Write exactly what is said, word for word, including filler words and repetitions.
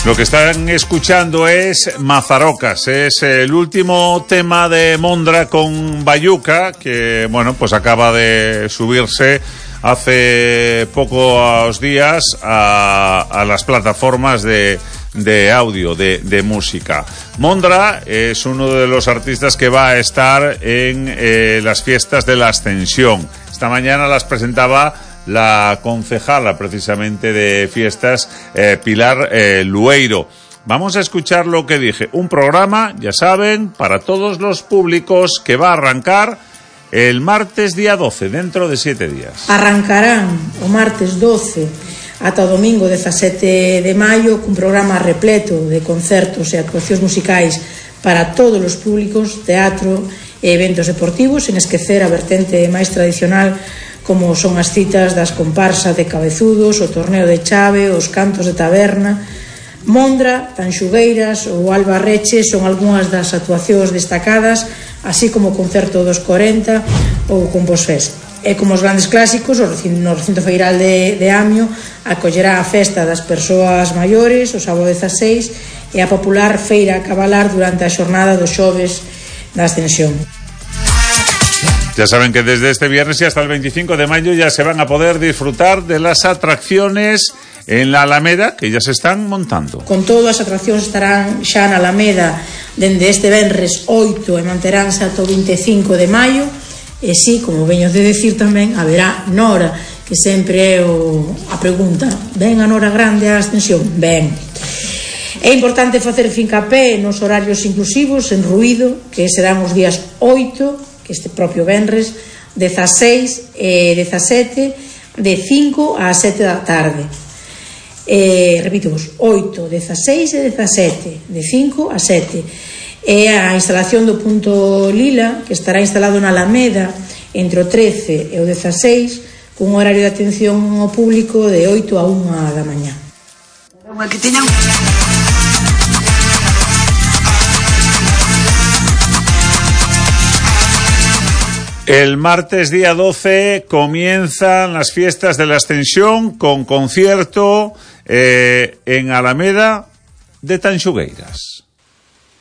Lo que están escuchando es Mazarocas, es el último tema de Mondra con Bayuca, que bueno, pues acaba de subirse hace pocos días a, a las plataformas de, de audio, de, de música. Mondra es uno de los artistas que va a estar en eh, las fiestas de la Ascensión. Esta mañana las presentaba la concejala precisamente de fiestas, eh, Pilar eh, Lueiro. Vamos a escuchar lo que dije. Un programa, ya saben, para todos los públicos, que va a arrancar el martes día doce, dentro de siete días. Arrancarán o martes doce ata o domingo dezasete de maio cun programa repleto de concertos e actuacións musicais para todos os públicos, teatro e eventos deportivos, sen esquecer a vertente máis tradicional como son as citas das comparsas de cabezudos, o torneo de chave, os cantos de taberna. Mondra, Tanxugueiras ou Alba Reche son algunhas das actuacións destacadas, así como o concerto dos corenta ou Composfest. E como os grandes clásicos, o recinto, no recinto feiral de, de Amio acollerá a festa das persoas maiores o sábado dezaseis e a popular feira a cabalar durante a xornada dos xoves da Ascensión. Ya saben que desde este viernes y hasta el veinticinco de mayo ya se van a poder disfrutar de las atracciones en la Alameda, que ya se están montando. Con todo, as atraccións estarán xa na Alameda dende este venres oito e manteránse ata o veinticinco de maio. E sí, como veño de decir tamén, haberá Nora, que sempre é o, a pregunta: ven a Nora grande a Ascensión? Ben. É importante facer fincapé nos horarios inclusivos, en ruído, que serán os días oito, que este propio venres, dezaseis e dezasete, de cinco a sete da tarde. Eh, repito vos, oito, dezaseis e dezasete, de cinco a sete. E a instalación do punto Lila, que estará instalado na Alameda entre o trece e o dezaseis, cun horario de atención ao público de oito a unha da mañá. Que teñan... El martes día doce comienzan las fiestas de la Ascensión con concierto eh, en Alameda de Tanxugueiras.